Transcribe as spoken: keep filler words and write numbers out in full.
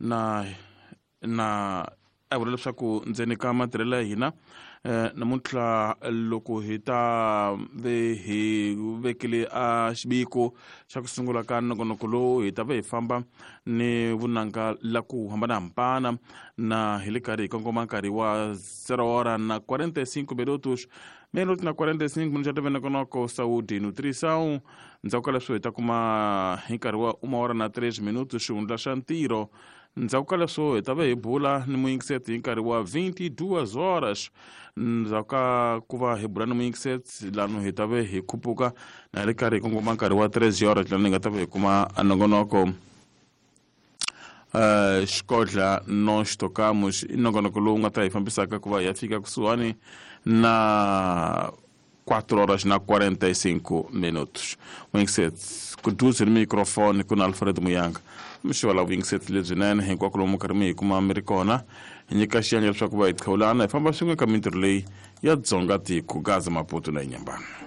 Na na a vula leswaku ndzeni ka matirhelo ya hina eh, namuntlha loko hi ta ve hi vekile a xiviko xa ku sungula ka nongonoko lowu, hi ta ve hi famba ni vunanga la ku hambanahambana na hi le karhi hi kongoma nkarhi wa zero hora na quarenta e cinco minutos, minuto na quarenta e cinco minutos ya tv nongonoko Saúde e Nutrição. Ndzhaku ka leswo hi ta kuma hi nkarhi wa uma hora na três minutos xihundla xa ntirho. Ndzhaku ka leswo hi ta ve hi bula ni muyingiseti hi nkarhi wa vinte e duas horas. Ndzhaku ka ku va hi bula ni muyingiseti lano, hi ta ve hi khupuka na hi ri karhi hi kongoma nkarhi wa treze horas, lano hi nga ta ve hi kuma nongonoko uh, Xikodla Nós Tocamos. I nongonoko lowu nga ta hi fambisaka ku va hi ya fika kusuhani na quatro horas na quarenta e cinco minutos. Muyingiseti kuduze ni microfone ku na Alfred Muyanga. Mixo la vuyingiseti lebyinene hinkwako lomu karhi mi hi kuma mi ri kona. Hi nyika xiyenge leswaku va hi qhawulana hi famba swin'we ka mintirho leyi ya Dzonga tiko, Gaza, Maputo na Inyambana.